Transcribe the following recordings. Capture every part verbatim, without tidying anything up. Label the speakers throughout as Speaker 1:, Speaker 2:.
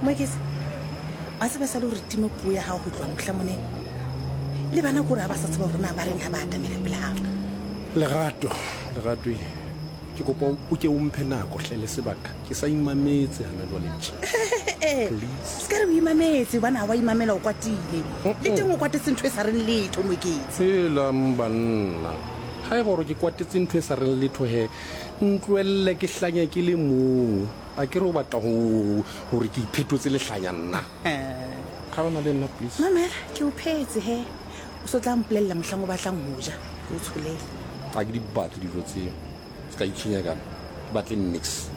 Speaker 1: Moeketsi, wa tseba sa le gore time puo ya gago go tloa motlha monene le bana kore ga ba sa tseba gore na ba reng ga ba atamela pele gago.
Speaker 2: Lerato, Lerato e, ke kopa o ke o mphe nako hle le sebaka. Ke sa imametse hana jwale tje. Please.
Speaker 1: Se ka re o imametse, gobane ga wa imamela, o kwatile le teng, o kwatetse ntho e sa reng letho, Moeketsi.
Speaker 2: Helang banna. Ha e gore ke kwatetse ntho e sa reng letho he, ntlohelle ke hlanya ke le mong. A ke re o batla ho hore ke iphetotse lehlanya nna. Kgaona le nna, please.
Speaker 1: Mamela, ke o phetse he, o so tla mpolelela mohlang o batlang ho ja, ke o tsholele.
Speaker 2: Ha ke di batle dijo tseo. Se ka itshwenya kana. Ke batle nix.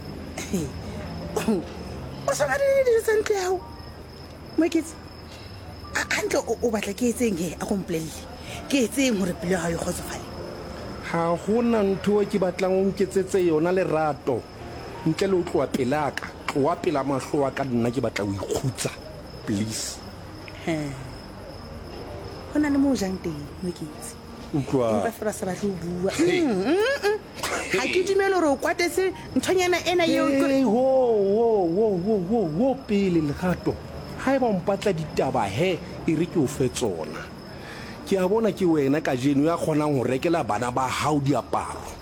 Speaker 1: O sa batle dijo tsa ntlo ya gago, Moeketsi? Hantle o o batla ke etseng he? A ko mpolelle, ke etseng gore pelo ya gago e kgotsofale?
Speaker 2: Ha hona ntho e ke batlang o nketsetse yona, Lerato. Ntle le ho tloha pelaka. Tloha pela mahlo a ka, nna ke batla ho ikgutsa. Please.
Speaker 1: Ho na le mo o jang teng, Moeketsi.
Speaker 2: Utlwa.
Speaker 1: Empa fela sa batle ho bua. Mm, mm, mm. Ga ke dumele gore o kwatetse nthonyana ena eo ke-
Speaker 2: Hey, ho, ho, ho, ho, ho, ho, pele, Lerato. Ha eba o mpatla ditaba he, e re ke o fe tsona. Ke a bona ke wena kajeno ya kgonang ho rekela bana ba hao diaparo.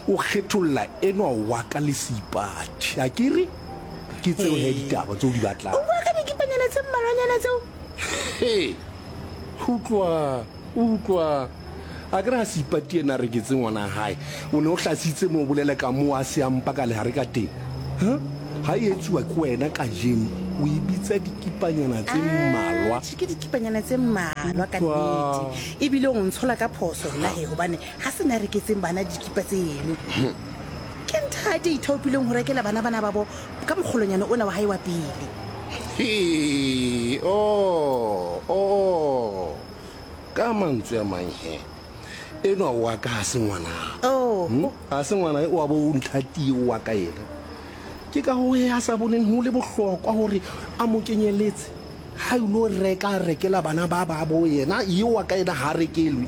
Speaker 2: O kgetholla enwa wa ka le Seipati. A ke re? Ke tseo he ditaba tseo di batlang.
Speaker 1: O bua ka dikipanyana tse mmalwanyana tseo?
Speaker 2: He. Utlwa, utlwa. A ke re ha Seipati ena a reketse ngwana hae, o ne o hlasitse mo o bolela ka moo a se a mpa ka lehare ka teng. Ha? Ha e etsuwa ke wena kajeno, o e bitsa dikipanyana tse mmalwa.
Speaker 1: Atjhe, ke dikipanyana tse mmalwa ka
Speaker 2: Utlwa.
Speaker 1: nnete, ebile o ntshola ka phoso nna he, gobane ga se na reketseng bana dikipa tseno, ke nthate ithaopileng go rekela bana bana ba bo ka mokgolonyana ona wa gae wa pele.
Speaker 2: He, oh, oh. Ka mantswe a mang he, enwa wa ka ha se ngwana.
Speaker 1: Oh.
Speaker 2: Hmm? Ha se ngwana wa bo o nthati wa ka ena. Ke ka ho he a sa boneng ho le bohlokwa hore a mo kenyeletse. Ha ilo reka, a rekela bana ba ba bo yena, eo wa ka ena ha rekelwe.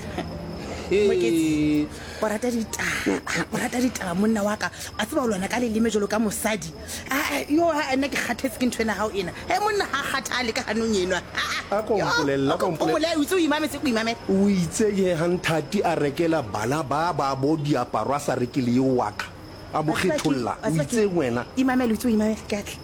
Speaker 1: Moeketsi, o rata ditaba, o rata ditaba, monna wa ka. A tseba o lwana ka leleme jalo ka mosadi. Ah, yo ha nna ke kgathetse ke ntho ena gago ena he, monna ga kgathale ka ganong enwa.
Speaker 2: A ko mpolelle, a ko mpolelle.
Speaker 1: O itse o imametse, ko imamele.
Speaker 2: O itse ke ha nthati a rekela bana ba ba bo diaparo, a sa rekele eo wa ka. A mo kgetholla. O itse wena.
Speaker 1: Imamele, o itse o imamele, ke atle.